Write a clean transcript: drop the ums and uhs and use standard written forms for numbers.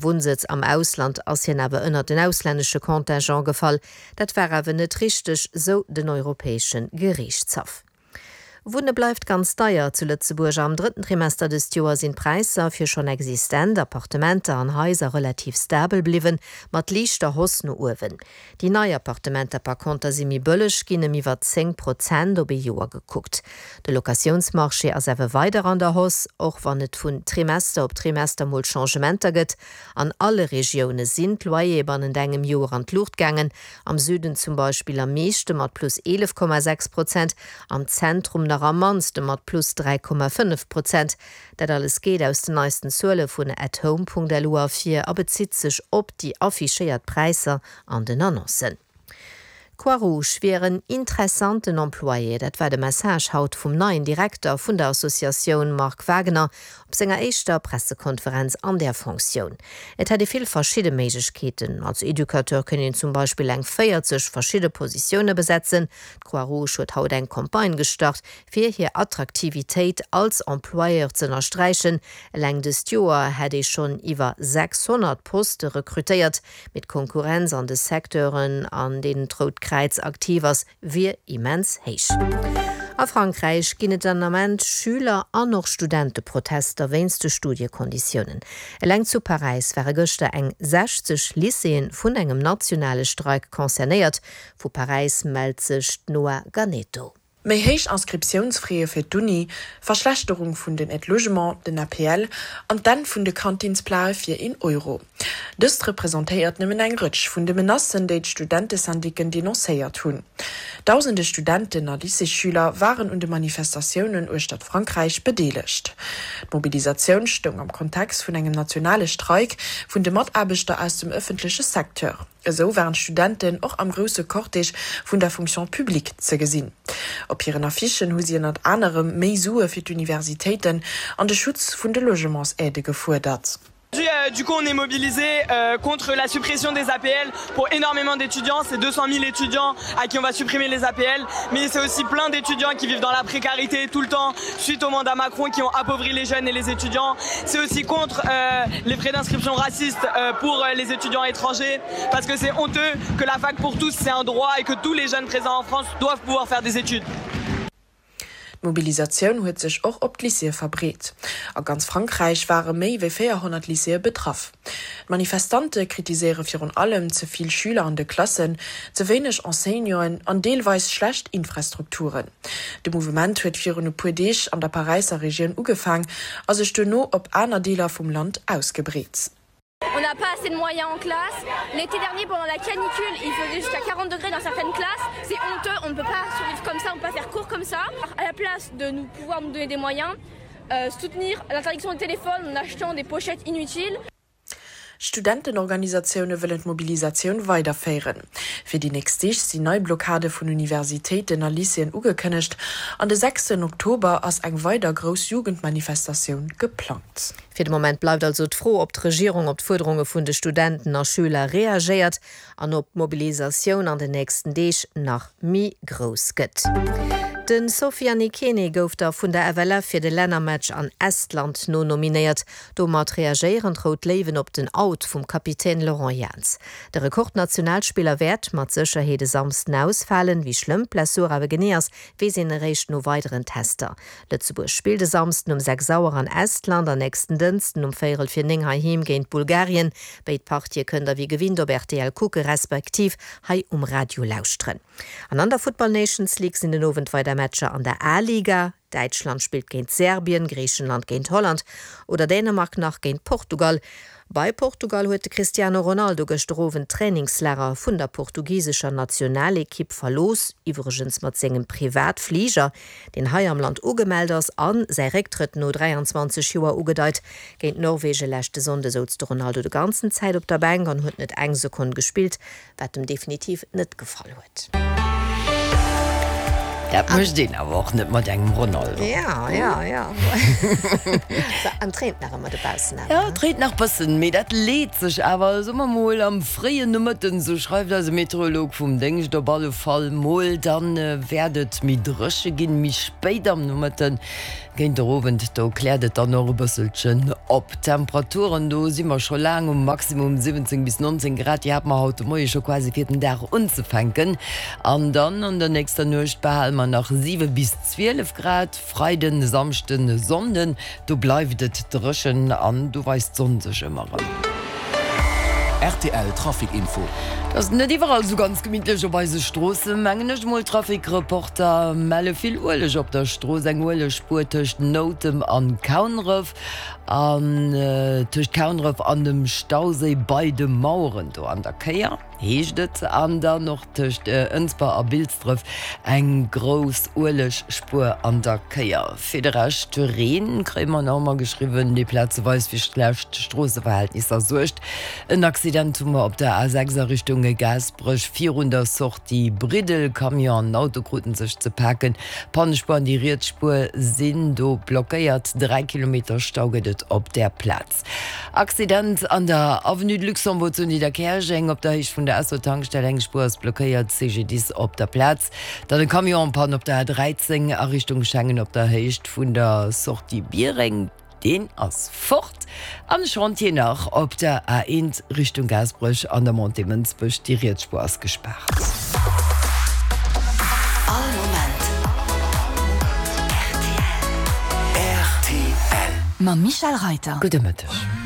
Wunnsëtz am Ausland ass hien awer ënnert den auslännesche Contingent gefall. Dat war awer net richteg, sou den Europäesche Geriichtshaff. Wunne bleift ganz deier zu Lëtzebuerg. Am drëtten Trimester dëst Joer sinn d'Präisser fir schonn existent Appartementer an Haiser relativ stabel bliwwen, mat liichter Hausse no uewen. Déi nei Appartementer par conter si méi bëlleg ginn, ëm iwwer 10 Prozent op ee Joer gekuckt. De Locatiounsmarché ass awer weider an der Hausse, och wann et vun Trimester op Trimester mol Changementer gëtt. An alle Regioune sinn d'Loyere bannent engem Joer an d'Luucht gaangen, am Süden zum Beispill am meeschte mat plus 11,6 Prozent, Am Zentrum nach am mannste mat plus 3,5 Prozent. Dat alles geet aus den neisten Zuele vun atHome.lu ervir a bezitt sech op déi affichéiert Präisser an den Annoncen. D'Croix-Rouge wier en interessanten Employé, dat war de Message haut vum neien Direkter vun der Associatioun Marc Wagener op senger éischter Pressekonferenz an där Fonctioun. Et hätt ee vill verschidde Méiglechkeeten. Als Educateur kéint een zum Beispill eng 40 verschidde Positioune besetzen. D'Croix-Rouge huet haut eng Campagne gestart, fir hir Attraktivitéit als Employeur z'ënnersträichen. Eleng dëst Joer hätt ee schonn iwwer 600 Poste rekrutéiert, mee d'Konkurrenz an de Secteuren, an deenen d'Rout Kräiz aktiv ass, wier immens héich. A Frankräich ginn et den Ament Schüler an och Studenteprotester wéinst de Studiekonditiounen. Eleng zu Paräis ware gëschter eng 60 Lycéeë vun engem nationale Streik concernéiert. Vu Paräis mellt sech d'Noa Ganeto. Méi héich Inscriptiounsfraie fir d'Uni, Verschlechterung vun den Aides logement, den APL, an d'Enn vun de Kantinsplae fir een Euro. Dëst representéiert nëmmen eng Rëtsch vun de Menacen, déi d'Studentesyndicken denoncéiert hunn. Dausende Studenten a Lycéesschüler waren un de Manifestatiounen uechtert Frankräich bedeelegt. D'Mobilisatioun stoung am Kontext vun engem nationale Streik vun de Mataarbechter aus dem ëffentleche Secteur. Esou waren d'Studenten och am grousse Cortège vun der Fonction publique ze gesinn. Op hiren Affichen hu si ënnert anerem méi Sue fir d'Universitéiten an de Schutz vun de Logementsaidë gefuerdert. Du coup on est mobilisé contre la suppression des APL pour énormément d'étudiants, c'est 200 000 étudiants à qui on va supprimer les APL, mais c'est aussi plein d'étudiants qui vivent dans la précarité tout le temps suite au mandat Macron qui ont appauvri les jeunes et les étudiants. C'est aussi contre euh, les frais d'inscription racistes euh, pour euh, les étudiants étrangers parce que c'est honteux que la fac pour tous c'est un droit et que tous les jeunes présents en France doivent pouvoir faire des études. D'Mobilisatioun huet sech och op d'Lycéeë verbreet. A ganz Frankräich ware méi wéi 400 Lycéeë betraff. D'Manifestante kritiséiere virun allem ze vill Schüler an de Klassen, ze wéineg Enseignanten an deelweis schlecht Infrastrukturen. De Mouvement huet virun e puer Deeg an der Paräisser Regioun ugefaang a sech duerno op aner Deeler vum Land ausgebreet. On n'a pas assez de moyens en classe. L'été dernier pendant la canicule, il faisait jusqu'à 40 degrés dans certaines classes. C'est honteux, on ne peut pas survivre comme ça, on ne peut pas faire cours comme ça. À la place de nous pouvoir nous donner des moyens, euh, soutenir l'interdiction de téléphone en achetant des pochettes inutiles. D'Studentenorganisatioune wëllen d'Mobilisatioun weiderféieren. Fir déi nächst Deeg sinn nei Blockade vun Universitéiten a Lycéeën ugekënnegt an de sechsten Oktober ass eng weider grouss Jugendmanifestatioun geplangt. Fir de Moment bleift also d'Fro, ob d'Regierung op d'Fuerderunge vun de Studenten a Schüler reagéiert an ob d'Mobilisatioun an den nächsten Deeg nach méi grouss gëtt. De Sofiane Ikene gouf da vun der FLF fir de Lännermatch an Estland nonominéiert. Domat reagéieren d'Rout Léiwen op den Out vum Kapitän Laurent Jans. De Rekordnationalspiller wäert mat Sécherheet e Samsden ausfalen. Wéi schlëmm d'Blessur awer genee ass, weess een eréischt no weideren Tester. Lëtzebuerg spillt e Samsden um 6 Auer an Estland an nächsten Dënsten um véierel fir 9 heiheem géint Bulgarien. Béid Partië kënnt der wéi gewinnt op rtl kucke respektiv hei um Radio lauschteren. An an der Futtball Nations League sinn den Owend weider Matcher an der A-Liga. Däitschland spillt géint Serbien, Griichenland géint Holland oder Dänemark nach géint Portugal. Bei Portugal huet de Cristiano Ronaldo gëschter Owend d'Trainingslager vun der portugisescher Nationalekipp verlooss, iwwregens mat sengem Privatfliger, deen hei am Land ugemellt ass a säi Récktrëtt no 23 Joer ugedeit. Géint Norwegen leschte Sonnde souz de Ronaldo de ganzen Zäit op der Bänk an huet net eng Sekonn gespillt, wat em definitiv net gefall huet. Dat mécht een awer och net mat engem Ronaldo. Ja, ja, ja. An et reent nach ëmmer dobaussen awer, Ja, et reent nach bëssen, mee dat leet sech awer, soe mer mol, am fréien Nomëtten, sou schreift eise Meteorolog vum Déngscht op alle Fall mol. Dann wäert et méi dréche ginn, méi spéit am Nomëtten. Géint der Owend, do kläert et dann och e bësselchen op. D'Temperaturen, do si mer scho laang um Maximum, 17 bis 19 Grad, déi hate mer haut de Moie scho quasi fir den Dag unzefänken. An dann an der nächster Nuecht behale mer nach 7 bis 12 Grad. Freiden, Samschden, Sonnden, do bleift et dréchen an do weist d'Sonn sech ëmmer erëm. Rtl Trafic Info. Et ass net iwwerall sou ganz gemittlech op eise Stroossen, mengen ech mol. Trafic-Reporter melle vill Ueleg op der Strooss, eng Uelegspuer tëscht Noutem an Kaunref an tëscht Kaunref an dem Stauséi bei de Maueren do an der Kéier. Heescht et, an dann och tëscht Ënsber a Bilsdref eng grouss Uelegspuer an der Kéier. Fir de Rescht, Reen kréie mer nach ëmmer geschriwwen, dee plazeweis fir schlecht Stroosseverhältnisser suergt. En Accident hu mer op der A6 a Richtung Gaasperech virun der Sortie Briddel. Camion an Auto kruten sech ze paken. D'Pannespuer an déi riets Spuer sinn do blockéiert. 3 Kilometer Stau gëtt et op där Plaz. Accident an der Avenue de Luxembourg zu Nidderkäerjeng op der Héicht vun der Esso-Tankstell. Eng Spuer ass blockéiert, CGDIS op der Plaz. Dann e Camion en Panne op der A13 a Richtung Schengen op der Héicht vun der Sortie Biereng. Deen ass fort. An e Chantier nach op der A1 Richtung Gaasperech an der Montée Mënsbech. Déi riets Spuer ass gespaart. All Moment rtl. Rtl. Mam Michel Reiter. Gudde Mëtteg.